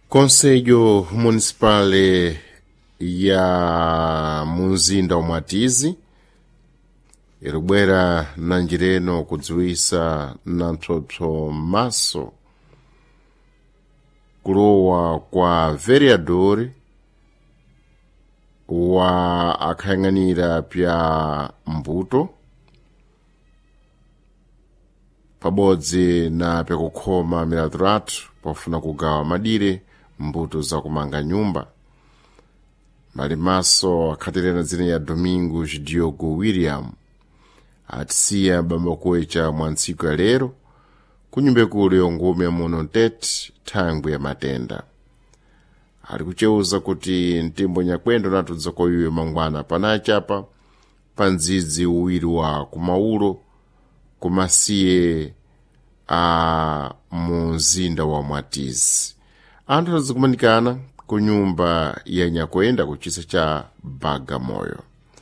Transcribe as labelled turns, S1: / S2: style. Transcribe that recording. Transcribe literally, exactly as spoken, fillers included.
S1: Conselho Municipal ya munzinda wa Mwatizi iribwera na njireno kudziwisa na mpsopso maso kulowa kwa vereador wa akhayang'anira pya mbuto pabodzi na pyakukhoma milatiratu pofuna kugawa madire mbuto zakumanga nyumba malimaso akhatirena dzina ya Domingos Diogo William atisiya bambakuwecha mwa ntsiku ya lero kunyumba ikulu yongume muno ntete thangwi ya matenda ali kuceuza kuti mtimbo nyakwendo natudza koyiwe mangwana panachapa pa ndzidzi uwiri wa kumaulo kumasiye a munzinda wa Mwatizi anthu azikumanikana ku nyumba ya nyakwenda kuchisa cha Bagamoyo.